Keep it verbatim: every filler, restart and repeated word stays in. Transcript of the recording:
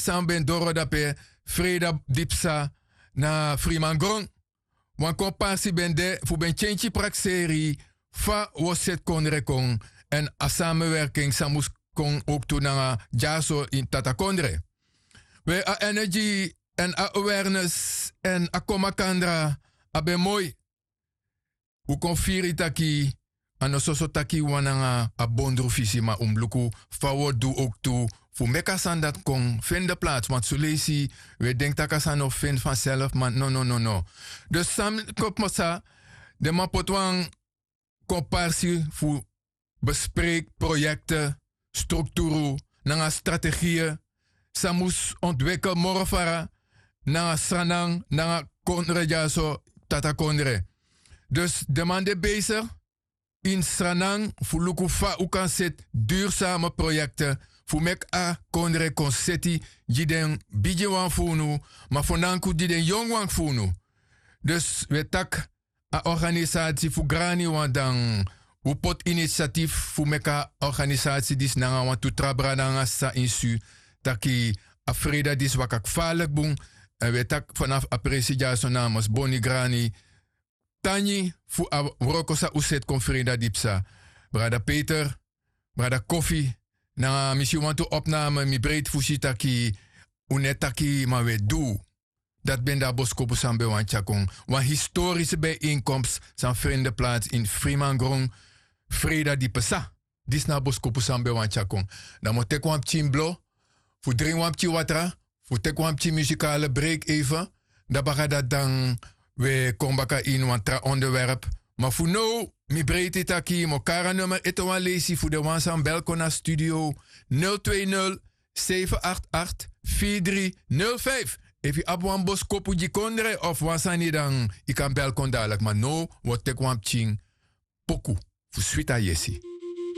san ben doro dape, freida di psa na frimangron. Wan komparsi ben de fu ben tyentyi prakseri fa wi o seti kondre kon, èn a samenwerking san mus kon owktu nanga dyaso ini tatakondre. We a energi èn a awareness èn a kon makandra a ben moi. Un kon firi taki a no soso taki wan nanga a bondru fisi ma un mus luku fa un o du owktu fu meki a sani dati kon feni de plaats want soleisi un e denki tak' a sani no feni fanself ma nononono. Dus san kon pasa, den man poti wan komparsi fu bespreiki proyekte, strukturu nanga strategie san mus ontwikkel moro fara nanga sranan nanga kondre dyaso, tatakondre. Dus den man de besigi ini sranan fu luku fa un kan seti dursame proyekte fu meki a kondre kon seti gi den bigiwan fu unu, ma fo nanku gi den yonguwan fu unu. Dus un e taki a organisati fu grani wan dan un poti inisiatif fu meki a organisati disi nanga wantu tra brada nanga sisa ini su taki a freida disi waka kfarlik bun. Èn un e taki fanafu a presi dyaso namens boni grani tangi fu a wroko san un seti kon freida di psa. Brada peter, brada kofi, nanga mi si wantu opname mi breiti fu si taki un no e taki ma un e du. Dati ben de a boskopu san mi ben wani tyari kon, wan historisi bijeenkomst san frende plaats ini frimangron. Freida di psa. Disi na a boskopu san mi ben wani tyari kon. Dan mi o teki wan pikin blo fu dringi wan pikin watra, fu teki wan pikin muzikale break even. Dan baka dati dan we kon baka ini wan tra onderwerp. Ma fu now mi breiti taki mi o kari a nummer ete wan leisi fu den wan san bel kon na studio, nul twee nul, seven acht acht, vier drie nul vijf. Efu yu abi wan boskopu gi kondre of wan sani dan yu kan bel kon dadelijk ma now wi o teki wan pikin poku fu switi a yesi.